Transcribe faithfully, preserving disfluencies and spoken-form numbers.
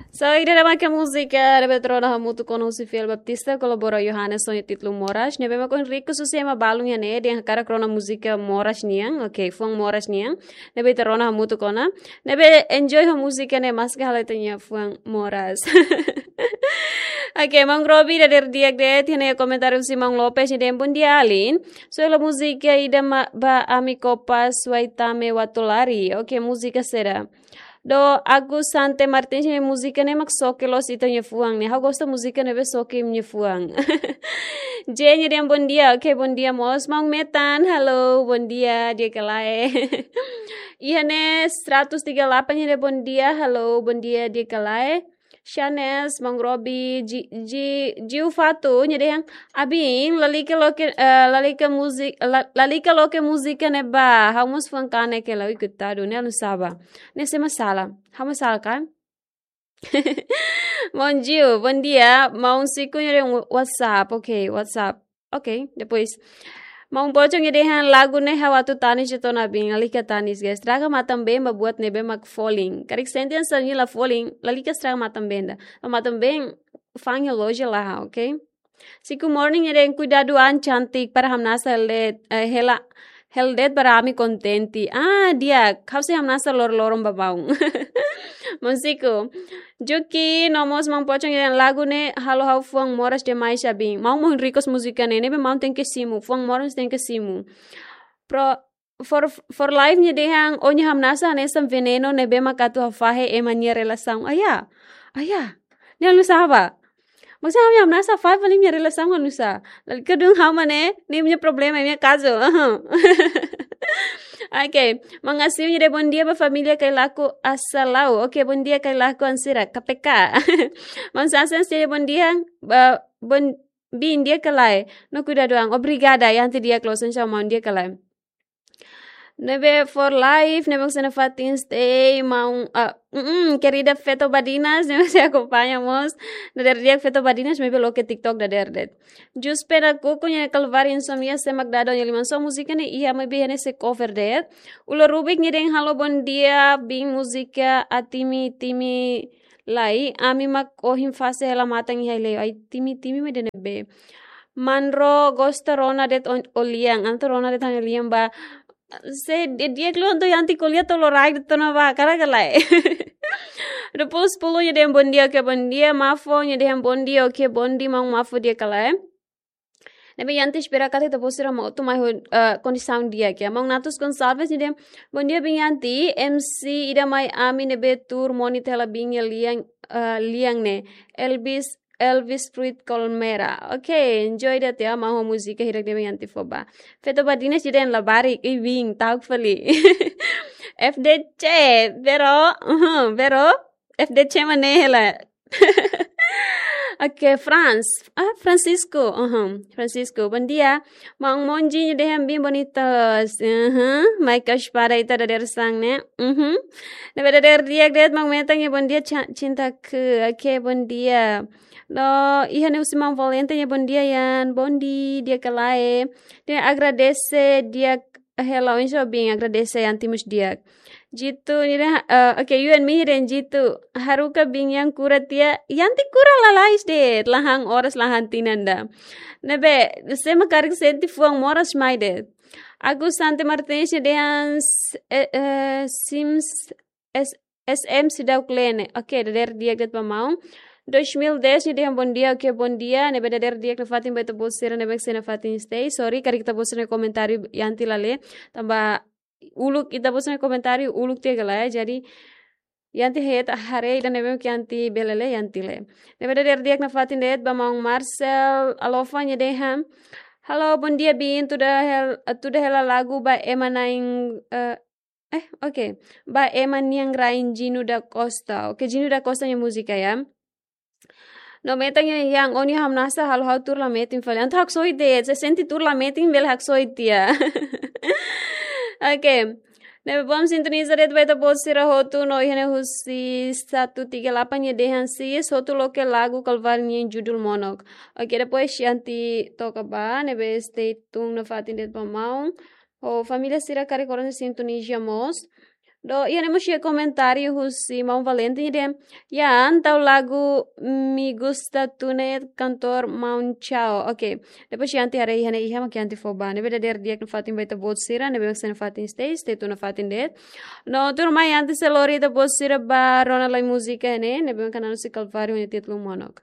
So, ida-ne'e mak múzika ne'ebé ita rona hamutuk ona husi Fiel Baptista, kolabora Yohanes, ho nia títulu Moras. Ne'ebé mak ohin request husi ema balun iha ne'e, dehan hakarak rona múzika Moras nian. Oke, fuan Moras nian. Ne'ebé ita rona hamutuk ona. Ne'ebé enjoy ho múzika ne'e, maski halo ita-nia fuan Moras. Oke, Maun Robi dadeer di'ak de'it, iha ne'e komentáriu husi Maun Lopes, nia dehan: "Bondia, alin. Suela múzika ida ma-, ba ami kopas wai tame watu lari." Oke, múzika saida? Do Agus Sante Martins, nia múzika ne'e mak soke loos ita-nia fuan ne'e. Ha'u gosta múzika ne'ebé soke imi-nia fuan. J, nia dehan bondia. Oke, bondia mós. Maun Metan, halo, bondia, di'ak ka lae? Iha ne'e seratus tiga lapan, nia dehan bondia, halo, bondia, di'ak ka lae? Shanes, Maun Robi, Ji-, Ji-, Jiu Fatu, nia dehan: "Abin, lalika loke, eh, lalika múzika, la-, lalika loke múzika ne'e ba, ha'u mós fuan kanek hela." Ui, koitadu, ne'e halo nusá ba? Ne'e sé mak sala? Ha'u mak sala ka? Maun Jiu, bondia. Maun Siku nia dehan WhatsApp, oke, WhatsApp. Oke, depois. Maun Pocong nia dehan lagu ne'e ha'u atu tanis de'it ona, abin, lalika tanis, guys. Estraga matan-been ba buat ne'ebé mak folin. Karik sente hanesan nia la folin, lalika estraga matan-been ida. Ba matan-been, fa'an iha loja laha, oke? Siku Morning nia dehan kuidadu an cantik para hamnasa hela de'it, eh, hela, hela de'it para ami kontente. Ah, di'ak, ha'u sei hamnasa loroloron ba maun. Maun Siku. Juki, no mós Maun Pocong nia dehan lagu ne'e halo ha'u fuan moras demais, abin. Maun mak ohin request múzika ne'e, ne'ebé maun tenke simu, fuan moras tenke simu. Pro, for, for Life nia dehan: "Ó-nia hamnasa hanesan venenu ne'ebé mak atu hafahe ema nia relasaun." Aya, aya. Ne'e halo nusá ba? Maksudnya, ha'u-nia hamnasa fahe fali imi-nia relasaun halo nusá. Lalika dun ha'u mak ne'e, ne'e imi-nia problema, imi-nia kazu. Oke, Maun Asil nia dehan bondia ba família Kailaku Asalau. Oke, bondia Kailaku an sira, K P K. Maun Sasen nia dehan bondia, ba, bon, bin, di'ak ka lae? No kuidadu an. Obrigada, Yanti, di'ak loos, insya Allah, maun, di'ak ka lae? Ne'ebé For Life, ne'ebé sei nafatin stay, maun, ah, mm, querida Feto Badinas, ne'ebé sei akompaña mós. Dadeer di'ak Feto Badinas, maibé loke TikTok dadeer de'it. Jus Pena Kuku nia dehan Kalváriu Insomnia, sé mak dada nia liman. So múzika ne'e iha, maibé ne'e sei cover de'it. Ulo Rubik nia dehan halo bondia, bin, múzika Atimi Timi Lai, ami mak ohin fase hela matan iha Aileu. Ai, Timi Timi mak ida-ne'ebé? Manro gosta rona de'it o-, ó-nia lian, entaun rona de'it ha'u-nia lian ba. Sé di'ak, di'ak liu entaun Yanti ko'alia to'o loraik de'it ona ba, hakarak ka lae? Depois Pulu nia dehan bondia, oke, bondia. Mafo nia dehan bondia, oke, bondia, maun Mafo, di'ak ka lae? Ne'ebé Yanti espera katak ita-boot sira mak hotu mai ho, eh, kondisaun di'ak, ya. Maun Natus Gonçalves nia dehan bondia, bin, Yanti, M C ida mai ami ne'ebé tuur moni hela bin nia lian, eh, lian ne'e. Elvis Elvis Fruit Colmera. Oke, enjoy de'it, ya, maun, ho múzika hirak ne'ebé Yanti fó ba. Feto Badinas nia dehan labarik, ih, bin, ta'uk fali. F D C, Vero, uhum, Vero, F D C mak ne'e hela. Oke, Franz. Ah, Francisco, uhum, Francisco, bondia. Maun Monji nia dehan bin bonitas. Uhum, mai ka espada ita dadeer-saan ne'e. Uhum. Ne'ebé dadeer di'ak de'it, Maun Metan nia bondia, Ca-, Cintaku. Oke, bondia. No, iha ne'e husi Maun Valente nia bondia, Yan. Bondia, di'ak ka lae? Nia agradese, di'ak hela, oinsá bin, agradese Yanti mós di'ak. Jitu nia dehan, eh, oke, you and me nia dehan Jitu. Haruka bin, Yan kura tiha, Yanti kura lalais de'it, la han oras, la han tinan ida. Ne'ebé, sé mak karik sente fuan moras mai de'it. Agus Sante Martins nia dehan s-, eh, eh, Sims S-, S M seidauk lee ne'e. Oke, dadeer di'ak de'it ba maun. Dois mil dez nia dehan bondia, oke, bondia. Ne'ebé dadeer di'ak nafatin ba ita-boot sira ne'ebé sei nafatin stay. Sorry, karik ita-boot sira-nia komentáriu Yanti la lee. Tanba uluk, ita-boot sira-nia komentáriu uluk tiha ka lae. Jadi, Yanti hetan haree ida ne'ebé ke Yanti bele lee, Yanti lee. Ne'ebé dadeer di'ak nafatin de'it ba maun Marcel Alofa nia dehan: Halo, bondia bin, tuda hel-, tuda hela lagu ba ema na'in, eh, eh, oke. Ba ema nian rain, Gino da Costa. Oke, Gino da Costa nia múzika, ya. No Metan nia dehan, ó-nia hamnasa halo ha'u tuur la metin fali. Entaun haksoit de'it, se sente tuur la metin bele haksoit tiha. Oke. Ne'ebé bom sintoniza de'it ba ita-boot sira hotu, no iha ne'e husi satu tiga lapan nia dehan sis, hotu loke lagu Kalváriu nian judul Monok. Oke, depois Yanti toka ba, ne'ebé stay tune nafatin de'it ba maun. Ho família sira karik horas ne'e sintonizia mós. No iha ne'e mós iha komentáriu husi Maun Valente dehan, ya, entaun lagu Mi Gusta Tune, kantór Maun Chao. Ok. Depois iha ante haree iha ne'e iha mak iha ante fó ba. Ne'ebé dadeer di'ak nafatin ba ita-boot sira, ne'ebé mak sei nafatin stay, stay tune nafatin de'it. No tuirmai ante sei lori ita-boot sira ba rona lai múzika ne'e, ne'ebé mak hanesan husi Calvário nia títulu Monok.